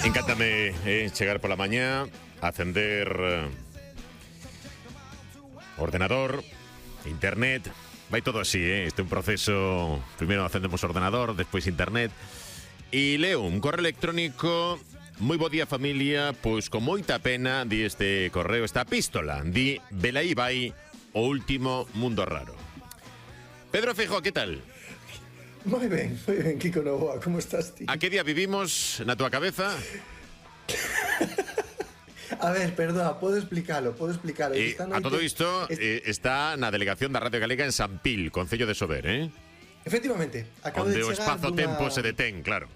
Encántame chegar pola mañá, acender ordenador, internet. Vai todo así, este é un proceso. Primeiro acendemos o ordenador, despois internet. E leo un correo electrónico. Moi bo día, familia. Pois con moita pena di este correo, esta epístola. Di, velaí vai o último mundo raro. Pedro Feijóo, que tal? Moi ben, Kiko Novoa, como estás ti? A que día vivimos na túa cabeza? A ver, perdón, podo explicalo. A todo isto está na delegación da Radio Galega en San Pil, Concello de Sober, Efectivamente, acabo onde de o chegar espazo-tempo se detén, claro.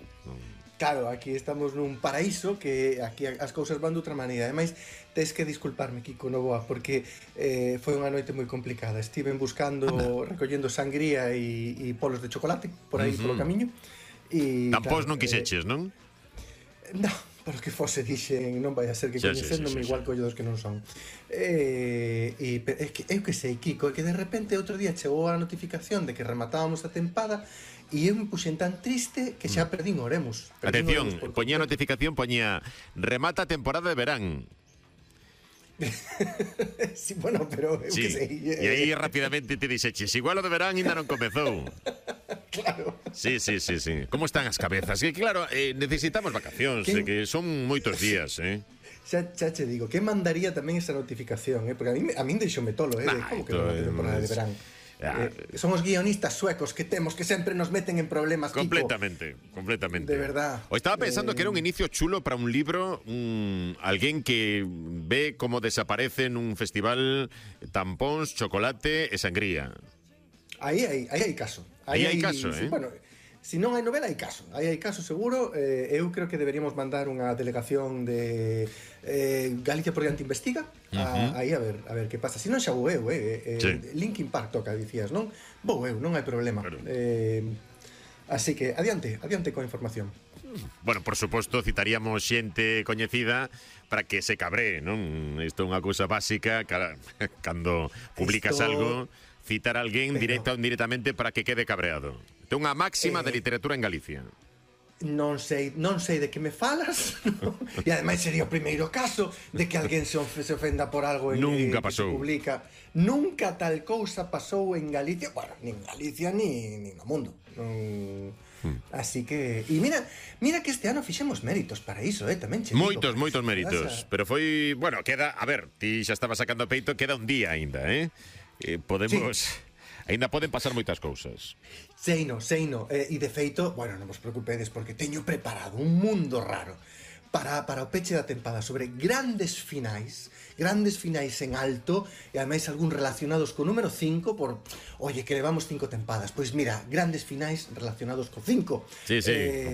Claro, aquí estamos nun paraíso que aquí as cousas van de outra maneira. Ademais, tes que disculparme, Kiko Novoa, porque foi unha noite moi complicada. Estiven buscando, recollendo sangría e polos de chocolate por aí polo camiño. Tampós non quixeches, non? Non, pero que fose dixen, non vai a ser que coñecéndome igual collo dos que non son. É que eu que sei, Kiko, é que de repente outro día chegou a notificación de que rematábamos a tempada e eu me puxen tan triste que xa perdín oremos. Atención, poñía a notificación, poñía remata a temporada de verán. Sí, bueno, pero eu que sei. E aí rapidamente te dixeches, igual o de verán ainda non comezou. Claro. Sí. Como están as cabezas? Que claro, necesitamos vacacións, que son moitos días, Xa che digo, que mandaría tamén esa notificación, porque a min deixoume tolo, como que remata a temporada de verán. Son os guionistas suecos que temos que sempre nos meten en problemas, Kiko. Completamente. De verdad. O estaba pensando que era un inicio chulo para un libro, alguén que ve como desaparecen un festival tampóns, chocolate e sangría. Aí hai caso. Aí hai caso, sí, bueno, se non hai novela, hai caso. Aí hai caso seguro. Eu creo que deberíamos mandar unha delegación de Galicia por diante investiga. Aí a ver que pasa. Se non xa vou eu, sí. Linkin Park toca, dicías, non? Vou eu, non hai problema. Claro. Así que adiante coa información. Bueno, por suposto, citaríamos xente coñecida para que se cabree, non? Isto é unha cousa básica, cando publicas algo, citar a alguén directa ou indirectamente para que quede cabreado. É unha máxima de literatura en Galicia. Non sei de que me falas, no? E ademais sería o primeiro caso de que alguén se ofenda por algo Nunca que pasou. se publica. Nunca tal cousa pasou en Galicia. Bueno, nin en Galicia nin no mundo. Así que... E mira que este ano fixemos méritos para iso, tamén che digo. Moitos méritos. Pero foi... Bueno, queda... A ver, ti xa estaba sacando peito, queda un día aínda, podemos... Sí. Aínda poden pasar moitas cousas. Sei no. E de feito, bueno, non vos preocupedes porque teño preparado un mundo raro para o peche da tempada sobre grandes finais en alto e ademais algún relacionados co número 5 por, oye, que levamos 5 tempadas. Pois mira, grandes finais relacionados co 5. Sí,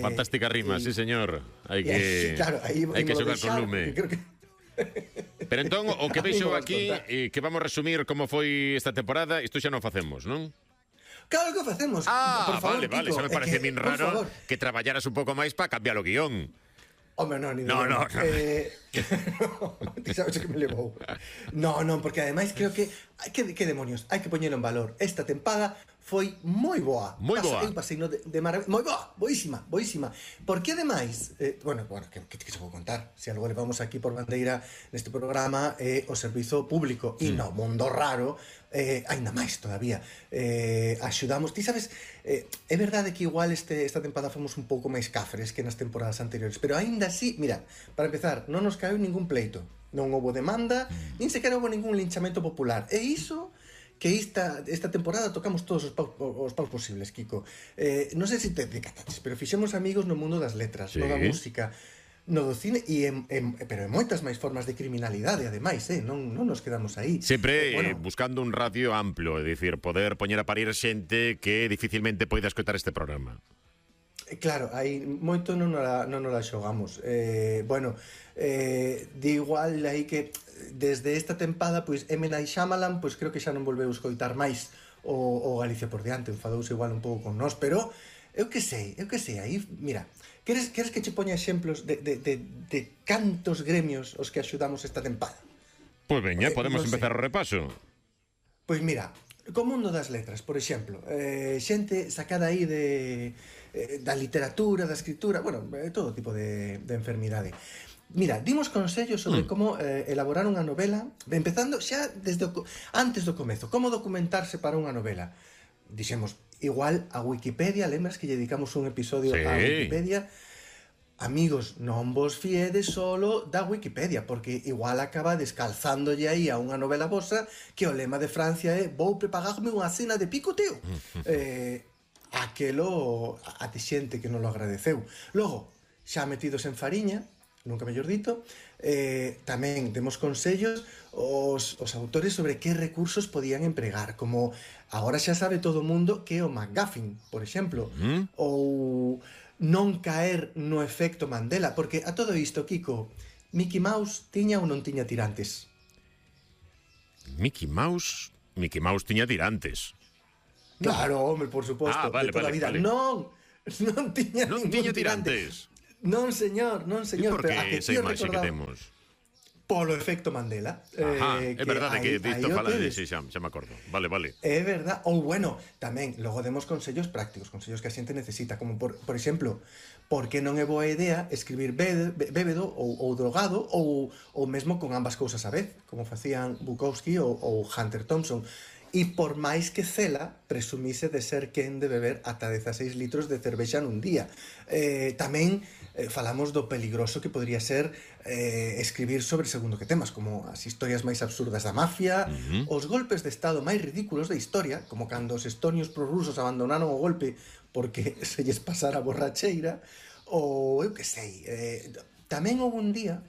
fantástica rima, sí, señor. Hai que xogar con lume. Pero entón, o que veixo aquí, que vamos resumir como foi esta temporada, isto xa non facemos, non? Claro que facemos. Por favor, vale, Kiko, xa me parece min raro que traballaras un pouco máis para cambiar o guión. Home, non, ti sabes que me levou. Non, porque ademais creo que que demonios, hai que poñelo en valor. Esta tempada foi moi boa. Eu pasei de maravilla. Moi boa, boísima. Porque ademais, bueno, que se vou contar. Se algo levamos aquí por bandeira neste programa o servizo público e no mundo raro, aínda máis todavía. Axudamos, ti sabes, é verdade que igual esta tempada fomos un pouco máis cafres que nas temporadas anteriores, pero aínda así, mira, para empezar, non nos caeu ningún pleito, non houbo demanda, nin sequera houbo ningún linchamento popular. E iso que esta temporada tocamos todos os paus posibles, Kiko. Non sei se te decataches, pero fixemos amigos no mundo das letras, no da música, no do cine, pero en moitas máis formas de criminalidade, ademais, non nos quedamos aí. Sempre buscando un radio amplo, é dicir, poder poñer a parir xente que dificilmente poida escoitar este programa. Claro, aí moito non nos la xogamos. De igual aí que desde esta tempada, pois M. Night Shyamalan, pois creo que xa non volveu escoitar máis o Galicia por diante, enfadouse igual un pouco con nós, pero eu que sei, aí, mira, queres que che poña exemplos de cantos gremios os que axudamos esta tempada? Pois veña, podemos empezar o repaso. Pois mira, co mundo das letras, por exemplo, xente sacada aí da literatura, da escritura, bueno, todo tipo de enfermidade. Mira, dimos consellos sobre como elaborar unha novela, empezando xa desde antes do comezo, como documentarse para unha novela. Dixemos, igual a Wikipedia, lembras que lle dedicamos un episodio a Wikipedia? Amigos, non vos fiedes solo da Wikipedia, porque igual acaba descalzándolle aí a unha novela vosa que o lema de Francia é vou prepagarme unha cena de picoteo. Aquelo a ti xente que non lo agradeceu. Logo, xa metidos en fariña, nunca mellor dito, tamén demos consellos os autores sobre que recursos podían empregar, como agora xa sabe todo o mundo que é o MacGuffin, por exemplo, ou non caer no efecto Mandela, porque a todo isto, Kiko, Mickey Mouse tiña ou non tiña tirantes? Mickey Mouse tiña tirantes. Claro, home, por suposto, de toda a vida. Vale. Non tiña ningún tirantes. Non, señor. E por que esa imaxe que temos? Polo efecto Mandela. É verdade que disto fala de xa me acordo. Vale. É verdade. Ou, bueno, tamén, logo demos consellos prácticos, consellos que a xente necesita, como, por exemplo, por que non é boa idea escribir bébedo ou drogado ou mesmo con ambas cousas a vez, como facían Bukowski ou Hunter Thompson. E por máis que Cela presumise de ser quen de beber ata 16 litros de cervexa nun día. Tamén falamos do peligroso que podría ser escribir sobre segundo que temas, como as historias máis absurdas da mafia, os golpes de estado máis ridículos da historia, como cando os estonios prorrusos abandonaron o golpe porque se lles pasara a borracheira, ou eu que sei. Tamén houve un día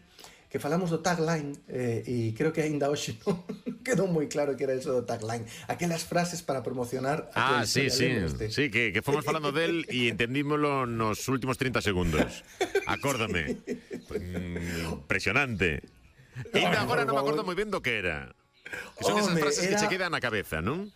que falamos do tagline, e creo que aínda hoxe non quedou moi claro que era eso do tagline. Aquelas frases para promocionar a sí, que fomos falando del e entendímolo nos últimos 30 segundos. Acórdame. Impresionante. E ainda agora non me acordo moi ben do que era. Que son esas frases que che quedan na cabeza, non?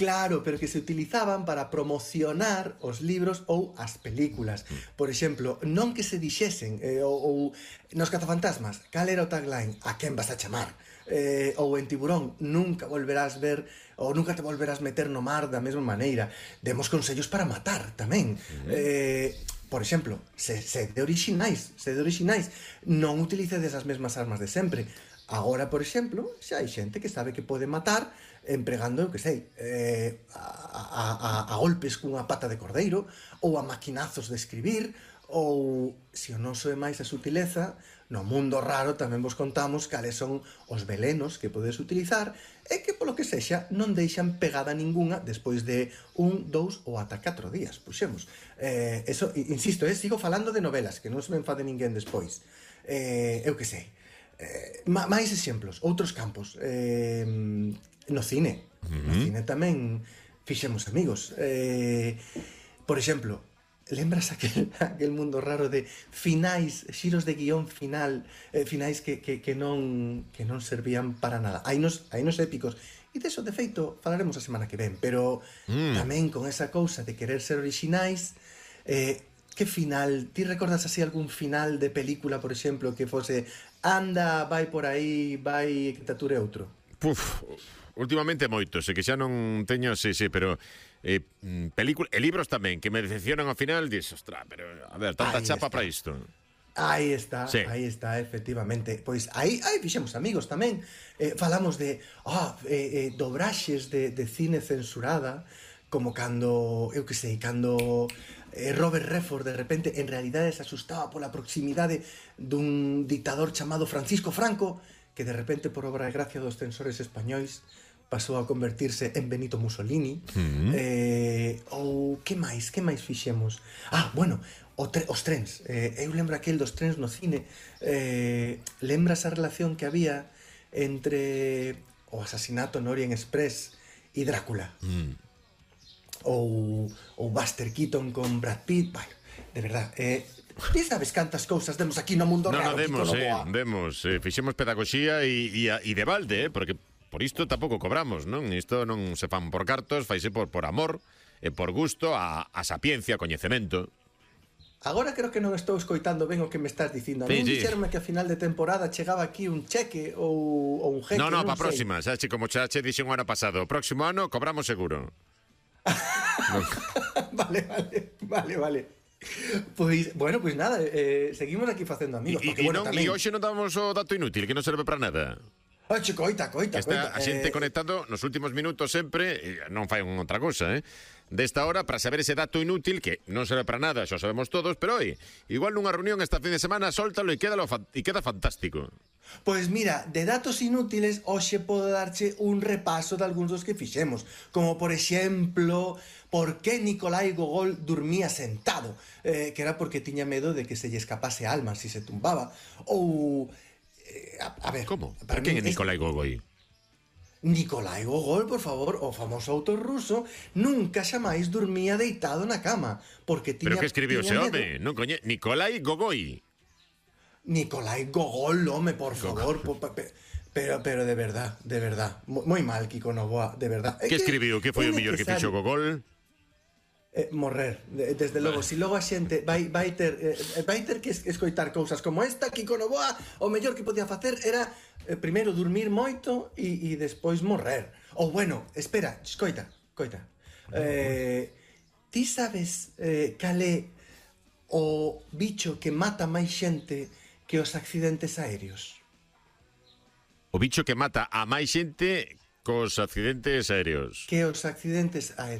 Claro, pero que se utilizaban para promocionar os libros ou as películas. Por exemplo, non que se dixesen, ou nos Cazafantasmas, cal era o tagline? A quen vas a chamar? Ou en Tiburón, nunca volverás ver ou nunca te volverás meter no mar da mesma maneira. Demos consellos para matar tamén. Por exemplo, sede orixinais, non utilicedes as mesmas armas de sempre. Agora, por exemplo, xa hai xente que sabe que pode matar empregando, eu que sei, a golpes cunha pata de cordeiro, ou a maquinazos de escribir, ou, se o noso é máis a sutileza, no mundo raro tamén vos contamos cales son os velenos que podes utilizar e que, polo que sexa, non deixan pegada ninguna despois de 1, 2 ou ata 4 días, puxemos. Eso, insisto, sigo falando de novelas, que non se me enfade ninguén despois. Eu que sei. Máis exemplos, outros campos. No cine. No cine tamén fixemos amigos. Por exemplo, lembras aquel mundo raro de finais, xiros de guión final, finais que non servían para nada. Hainos épicos. E deso, de feito, falaremos a semana que ven. Pero tamén con esa cousa de querer ser orixinais, que final? Ti recordas así algún final de película, por exemplo, que fose anda, vai por aí, vai que te ature outro? Últimamente moitos, que xa non teño, sí, pero películas e libros tamén que me decepcionan ao final, dis, ostra, pero a ver, tanta chapa para isto. Aí está, efectivamente. Pois aí fixemos amigos tamén. Falamos de dobraxes de cine censurada, como cando, eu que sei, cando Robert Redford de repente en realidade se asustaba pola proximidade dun dictador chamado Francisco Franco, que de repente por obra e gracia dos censores españois pasou a convertirse en Benito Mussolini. Ou que máis fixemos? Bueno, os trens. Eu lembro aquel dos trens no cine. Lembras a relación que había entre o asasinato no Orient Express e Drácula? Ou Buster Keaton con Brad Pitt. Bueno, de verdad, ti sabes cantas cousas demos aquí no mundo raro? Demos, fixemos pedagogía e de balde, porque por isto tampouco cobramos, non? Isto non se fan por cartos, faise por amor, por gusto, a sapiencia, a coñecemento. Agora creo que non estou escoitando ben o que me estás dicindo. A mí dixerme que a final de temporada chegaba aquí un cheque ou un jeque. Non, para a próxima, xa che como xa che dixen o ano pasado, o próximo ano cobramos seguro. Vale. Pois, bueno, pois nada, seguimos aquí facendo amigos. E hoxe non damos o dato inútil, que non serve para nada. Oxe, coita. Está a xente conectado nos últimos minutos sempre, non fai outra cousa, desta hora, para saber ese dato inútil, que non serve para nada, xa sabemos todos, pero oi, igual nunha reunión esta fin de semana, sóltalo e queda fantástico. Pois mira, de datos inútiles, hoxe podo darche un repaso de algúns dos que fixemos, como por exemplo, por que Nicolai Gogol dormía sentado, que era porque tiña medo de que se lle escapase a alma si se tumbaba, ou... a ver... Como? Para quen é Nicolai Gogol? Nicolai Gogol, por favor, o famoso autor ruso, nunca xamais dormía deitado na cama, porque tiña... Pero que escribiu ese home? Non coñe... Nicolai Gogol. Nicolai Gogol, home, por favor, pero de verdad, moi mal, Kiko Novoa, de verdad. Que escribiu? Que foi o mellor que fixo Gogol? Morrer, desde logo. Si logo a xente vai ter que escoitar cousas como esta, Kiko Novoa, o mellor que podía facer era primeiro dormir moito e despois morrer. Ou bueno, espera, escoita. Ti sabes cal é o bicho que mata máis xente que os accidentes aéreos? O bicho que mata a máis xente cos accidentes aéreos. Que os accidentes aéreos.